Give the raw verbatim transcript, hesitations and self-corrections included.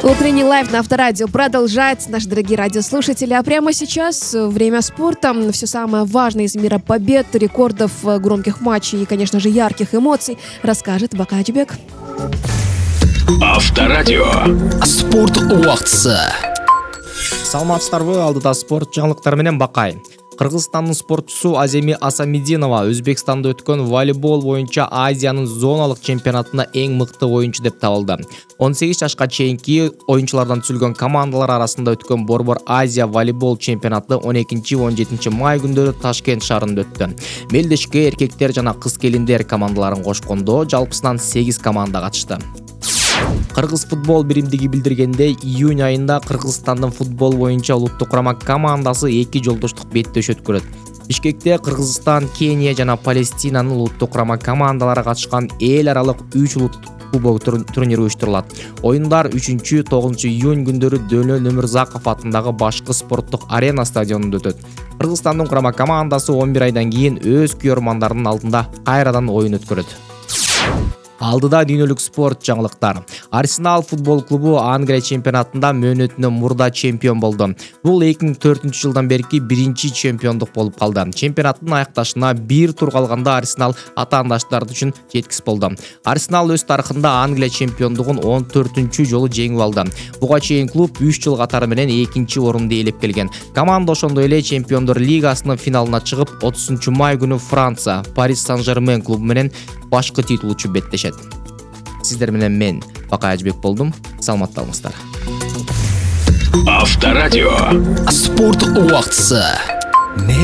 Утренний лайв на Авторадио продолжается, наши дорогие радиослушатели. А прямо сейчас время спорта. Все самое важное из мира побед, рекордов, громких матчей и, конечно же, ярких эмоций расскажет Бакайчбек. Авторадио. Спорт убактысы. Саламатсыздарбы, алдыда спорт жаңылыктары менен Бакай. Кыргызстандын спортчусу Аземи Асамидинова Өзбекстанда өткөн волейбол боюнча Азиянын зоналык чемпионатында эң мыкты оюнчу деп табылды. он сегиз жашка чейинки оюнчулардан түзүлгөн командалар арасында өткөн Борбор Азия волейбол чемпионаты он экинчи он жетинчи май күндөрү Ташкент шаарында өттү. Мелдешке эркектер жана кыз келиндер командаларын кошкондо жалпысынан сегиз команда катышты. Кыргыз футбол биримдиги билдиргендей, июнь айында Кыргызстандын футбол боюнча улуттук курама командасы эки жолдоштук беттеш өткөрөт. Бишкекте Кыргызстан, Кения жана Палестинанын улуттук курама командалары катышкан эл аралык үч улуттук кубок турниру уюштурулат. Оюндар үчүнчү тогузунчу июнь күндөрү Дөнөл Өмүрзаков атындагы башкы спорттук арена стадионунда өтөт. Кыргызстандын курама командасы он бир айдан кийин өз күйөрмандарынын алдында кайрадан оюн өткөрөт. Алдыда дүйнөлүк спорт жаңылыктар. Арсенал футбол клубу Англия чемпионатында мөөнөтүнөн мурда чемпион болду. Бул эки миң төртүнчү жылдан берки биринчи чемпиондук болуп калды. Чемпионаттын аякташына бир тур калганда Арсенал атаандаштар үчүн жеткис болду. Арсенал өз тарыхында Англия чемпиондугун он төртүнчү жолу жеңип алды. Буга чейин клуб үч жыл катары менен экинчи орунду ээлеп келген. Команда ошондой эле Чемпиондор лигасынын финалына чыгып, отузунчу май күнү Франция Париж Сан-Жермен клубу менен башкы титулчу беттешет. Сиздер менен мен Бакайчбек болдум. Саламатталыңыздар. Авторадио. Спорт убактысы.